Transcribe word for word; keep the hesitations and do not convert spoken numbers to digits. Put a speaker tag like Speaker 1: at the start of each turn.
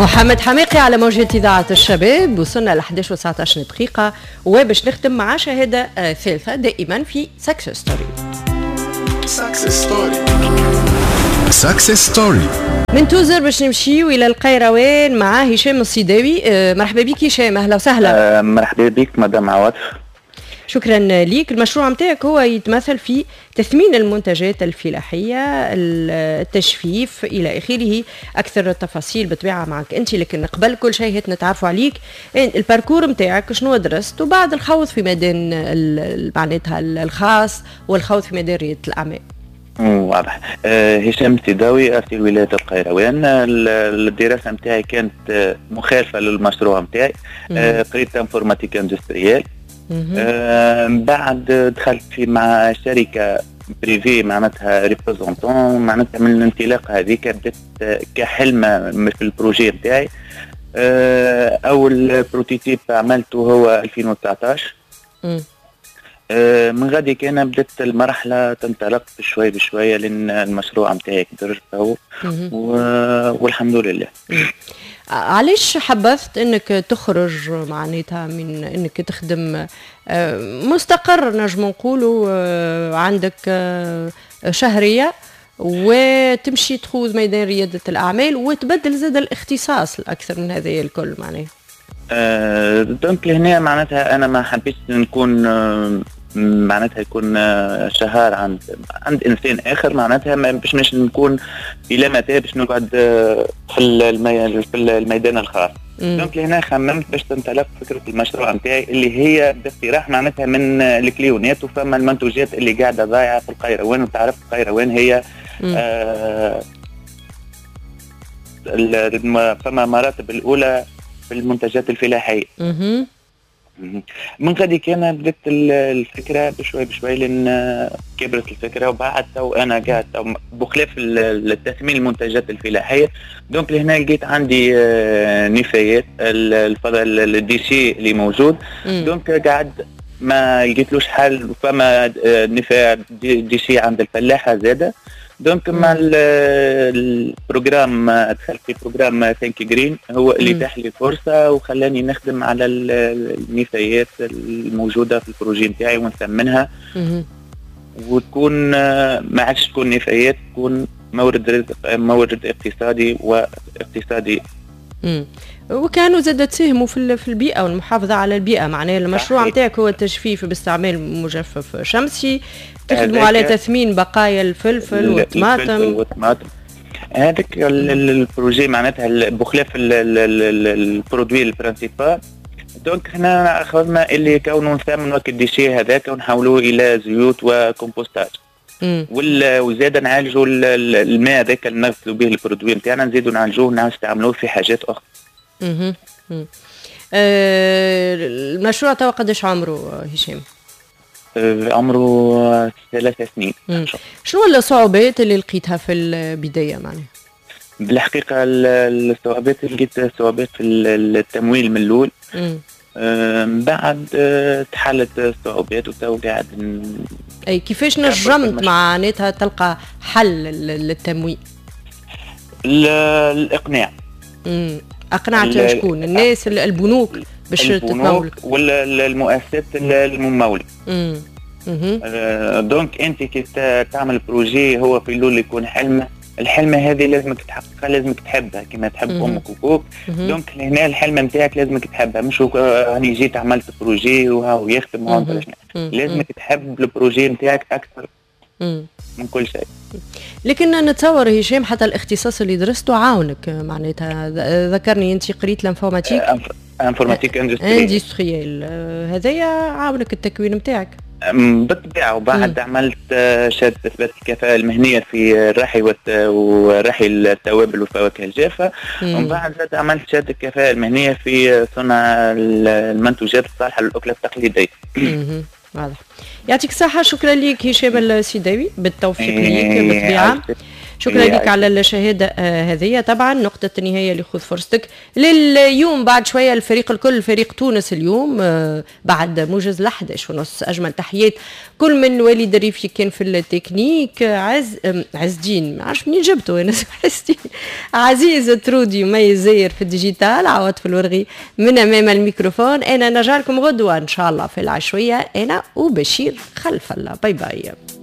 Speaker 1: محمد حماقي على موجة إذاعة الشباب. وصلنا ل إحداش وتسعطاش دقيقة وباش نختم مع شهادة ثالثة دائما في success story.
Speaker 2: success story، success story.
Speaker 1: من توزر باش نمشيو الى القيروان مع هشام الصيداوي. مرحبا بك هشام، اهلا وسهلا.
Speaker 3: أه مرحبا بك مدام عواطف.
Speaker 1: شكرا ليك. المشروع نتاعك هو يتمثل في تثمين المنتجات الفلاحية، التجفيف الى اخره. اكثر التفاصيل بالطبيعة معك انت، لكن قبل كل شيء هات نتعرفوا عليك، ال parcours نتاعك شنو درست، وبعد الخوض في ميدان معناتها الخاص والخوض في ميدان رياده الاعمال.
Speaker 3: واضح. أه هشام السيداوي، أصيل ولاية القيروان. الدراسة نتاعي كانت مخالفة للمشروع نتاعي. أه قريت informatique industrielle. أه بعد دخلت في مع شركة privée، معناتها représentant، معناتها من الانطلاقة هذيك بدات كحلمة في ال projet نتاعي. أه أول prototype عملته هو ألفين وتسعطاش. من غادي كان بدات المرحلة تنطلق بشوي بشوية لان المشروع نتاعي كبر تو والحمد لله.
Speaker 1: علاش حبذت انك تخرج معناتها من انك تخدم مستقر نجم نقولوا عندك شهرية وتمشي تخوض ميدان رياده الاعمال وتبدل زاد الاختصاص الاكثر من هذا الكل معناها؟
Speaker 3: أه donc لهنا معناتها انا ما حبيتش نكون معناتها يكون شهار عند عند انسان اخر، معناتها باش مش نكون الى متى باش نقعد في المي... في الميدان الخاص. donc لهنا خممت باش تنطلق فكرة المشروع نتاعي اللي هي باقتراح معناتها من ال client ات وفما المنتوجات اللي قاعدة ضايعة في القيروان، وتعرف القيروان هي آه فما مراتب الاولى في المنتجات الفلاحية.
Speaker 1: مم.
Speaker 3: من غادي كان بدت الفكرة بشوي بشوي لان كبرت الفكرة، وبعد تو انا قاعد تو بخلاف التثمين المنتجات الفلاحية. donc لهنا لقيت عندي نفايات الفضل ال déchets اللي موجود. donc قاعد ما لقيتلوش حل، فما نفايات déchets عند الفلاحة زاده. donc مع ال programme دخلت في programme Think Green هو اللي تاح لي فرصة وخلاني نخدم على النفايات الموجودة في ال projet نتاعي ونثمنها وتكون ما عادش تكون نفايات، تكون مورد رزق، مورد اقتصادي واقتصادي.
Speaker 1: مم. وكانوا زاد تساهموا في في البيئة والمحافظة على البيئة. معناها المشروع نتاعك هو التجفيف باستعمال مجفف شمسي، تخدموا على تثمين بقايا الفلفل والطماطم.
Speaker 3: والطماطم هذاك ال projet معناتها بخلاف ال produit ال principal. donc حنا اخذنا اللي كونه نثمنوا ال déchet هذاك ونحولوه الى زيوت وكومبوستاج، وزاد نعالجوا الماء هذاك اللي نغسلوا به ال produit نتاعنا، نزيدوا نعالجوه ونستعملوه في حاجات اخرى.
Speaker 1: اها. أه المشروع توا قداش عمره هشام؟
Speaker 3: عمره ثلاث سنين.
Speaker 1: شنو الصعوبات اللي لقيتها في البداية معناها؟
Speaker 3: بالحقيقة الصعوبات لقيت صعوبات في التمويل من الأول. من بعد تحلت الصعوبات وتو قاعد.
Speaker 1: أي كيفاش نجمت معناتها تلقى حل للتمويل؟
Speaker 3: الإقناع.
Speaker 1: امم أقنعت شكون؟ الناس، البنوك باش تتمول
Speaker 3: ولا المؤسسات الممولة؟
Speaker 1: امم
Speaker 3: donc انت كي تعمل projet هو في الاول يكون حلمه، الحلمة هذه لازمك تحققها، لازمك تحبها كما تحب امك وابوك. donc هنا الحلمة نتاعك لازمك تحبها، مش هاني جيت عملت projet وهاو يخدم وهاو، لازمك تحب ال projet نتاعك اكثر من كل شيء.
Speaker 1: لكن نتصور هشام حتى الاختصاص اللي درسته عاونك معناتها، ذكرني انت قريت l'informatique
Speaker 3: informatique industrielle
Speaker 1: industrielle، هذايا عاونك التكوين نتاعك
Speaker 3: بالطبيعة. وبعد عملت شهادة اثبات الكفاءة المهنية في الرحي ورحي التوابل والفواكه الجافه، ومن بعد عملت شهادة الكفاءة المهنية في صنع المنتوجات الصالحة للاكله التقليدية.
Speaker 1: واضح. يعطيك الصحة، شكرا لك هشام السيداوي، بالتوفيق لك بالطبيعة. شكرا لك على الشهادة آه، هذه. طبعا نقطة النهاية اللي خذ فرصتك لليوم. بعد شوية الفريق الكل، فريق تونس اليوم، آه، بعد موجز الأحد عشر ونص. اجمل تحيات كل من وليد الريفي كان في التكنيك، عز عز الدين، ما عرفش منين جبته انا عز الدين، عزيز ترودي مي زاير في ال digital، عواطف الورغي من امام الميكروفون. انا نرجع لكم غدوه ان شاء الله في العشويه، انا وبشير خلف الله. bye bye.